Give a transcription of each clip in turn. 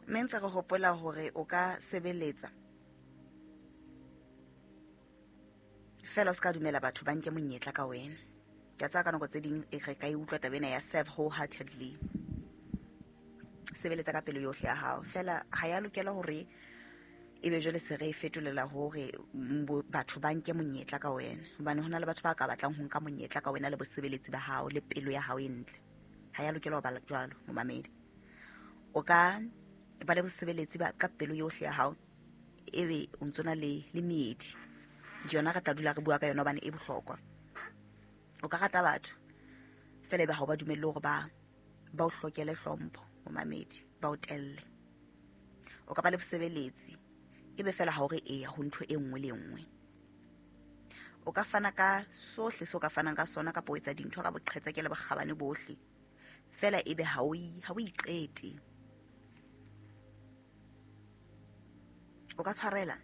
Mme ntse re hopola hore o ka sebeletsa fela, o se ka dumela batho ba nke monyetla ka wena. Ke a tseba ka nako tse ding e re ka e utlwa taba ena ya serve wholeheartedly, sebeletsa ka pelo yohle ya hao, fela ha ya lokela hore e be jwale se re e fetolela hore batho ba nke monyetla ka wena, hobane ho na le batho ba ka batlang ho nka monyetla ka wena le bosebeletsi ba hao le pelo ya hao e ntle. Ha ya lokela ho ba jwalo, momamedi. O ka ba le bosebeletsi ba ka pelo yohle ya hao, ebe o ntso na le meedi. Yona re tla dula re bua ka yona hobane e bohlokwa. O ka rata batho fela ebe ha o ba dumelle hore ba o hlokele hlompho, momamedi, ba o telle. O ka ba le bosebeletsi ebe fela ha o re eya ho ntho e nngwe le e nngwe. O ka fana ka sohle se o ka fanang ka sona, kapa o etsa dintho ka boqhetseke le bokgabane bohle, fela ebe ha o iqete. O ka tshwarela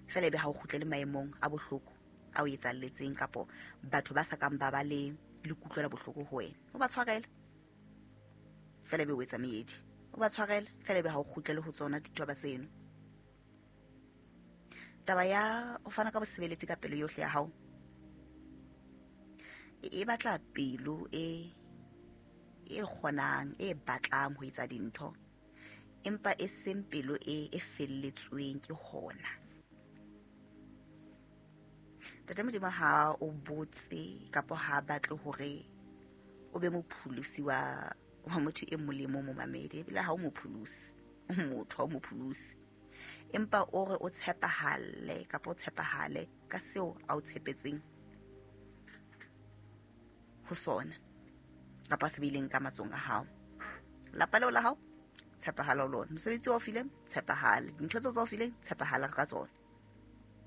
fela ebe ha o kgutlele maemong a bohloko a o etsalletseng, kapo batho ba sa kang ba ba le kutlwela bohloko ho wena. O ba tshwarela fela ebe o etsa meedi. O ba tshwarela fela ebe ha o kgutlele ho tsona ditaba tseno. Taba ya ho fana ka bosebeletsi ka pelo yohle ya hao e batla pelo e kgonang, e batlang ho etsa dintho, empa e seng pelo e felletsweng ke hona. Ntate Modimo ha o botse kapa ha batle hore o be mopholosi wa motho e mong le e mong, momamedi, ebile ha o mopholosi, motho ha o mopholosi, empa o re o tshepahalle kapa o tshepahale ka seo a o tshepetseng ho sona kapa se beileng ka matsong a hao. Lapa leo la hao, tshepahala ho lona. Mosebetsi o fileng, tshepahale. Dintho tseo tsa o fileng, tshepahala ka tsona.